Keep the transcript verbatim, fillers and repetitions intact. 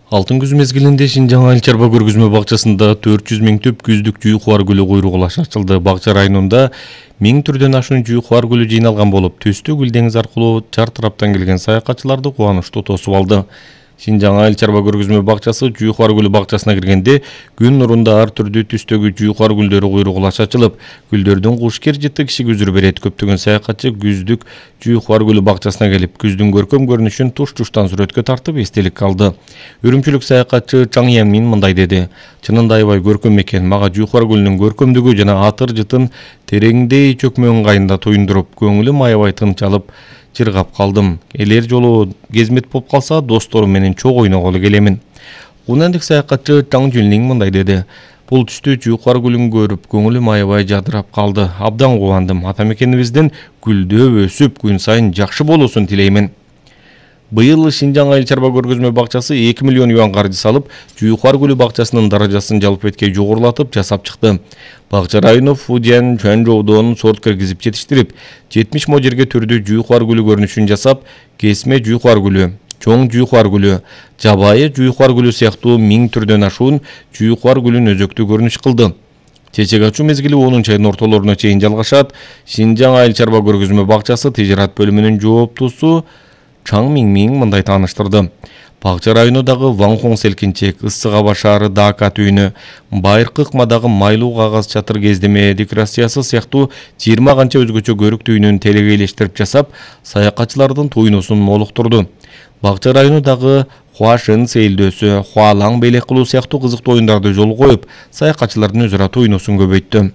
Алтын күз мезгилинде Шинжаң айыл чарба көргөзмө бакчасында төрт жүз миңтөп күздүк жуйкубар гүлү куйругулаш ачылды. Бакча районунда миң түрдөн ашуун жуйкубар гүлү жыйналган болуп, төстө гүл деңиз аркылуу чар тараптан келген саякатчыларды кубанычтуу тосуп алды. Шинжаң айыл чарба көргөзмө бакчасы жуйкубар гүлү бакчасына киргенде күн нурунда ар түрдүү түстөгү жуйкубар гүлдөрү куйругулаш ачылып, гүлдөрдүн кушкер жыты кишиге үзүр берет. Көптөгөн саякатчы күздүк жуйкубар гүлү бакчасына келип, күздүн көркөм көрүнүшүн туш-туштан сүрөткө тартып эстелик калды. Үрүмчүлүк саякатчы Чаң Ямин мындай деди: "Чынында аябай көркөм экен. Мага жуйкубар гүлүнүн көркөмдүгү жана атыр жытын тереңдей чөкмө ыңгайында туюндуруп, көңүлүм аябай тынчалып, чыргап калдым. Элер жолу кезмет болуп калса, досторум менен чогуу ойноголу келемин." Кунандык саякатчы Чаң Жүлнин мындай деди: "Бул түстө жуйкубар гүлүн көрүп, көңүлүм аябай жадырап калды. Абдан кубандым. Ата мекенибиздин гүлдөп өсүп, күн сайын жакшы болуусун тилеймин." Быйыл Шинжаң айыл чарба көргөзмө бакчасы эки миллион юан каржы салып, жуйкубар гүлү бакчасынын даражасын жалпыбетке жогорулатып жасап чыкты. Бакча району Фудзян Чуанчжоудон сорт киргизип жетиштирип, жетимиш мо жерге түрдүү жуйкубар гүлү көрүнүшүн жасап, кесме жуйкубар гүлү, чоң жуйкубар гүлү, жабайы жуйкубар гүлү сыяктуу миң түрдөн ашуун жуйкубар гүлүн өзөктүү көрүнүш кылды. Чечек ачуу мезгили онунчу айдын ортолоруна чейин жалгашат. Шинжаң айыл чарба көргөзмө бакчасы тижарат бөлүмүнүн жооптусу Чаң Миң мындай тааныштырды: Бакча районундагы Ванхон селкинчек, Ысык аба шаары Дака түйүнү, Байыркы ыкмадагы майлуу кагаз чатыр кездеме декорациясы сыяктуу жыйырма канча өзгөчө көрүк түйүнүн телегейлештирип жасап, саякатчылардын туйнусун молуктурду. Бакча районундагы Хуашын сейилдөөсү, Хуалаң белек кылуу сыяктуу кызыктуу оюндарды жолго коюп, саякатчылардын өзү ара туйнусун көбөйттү.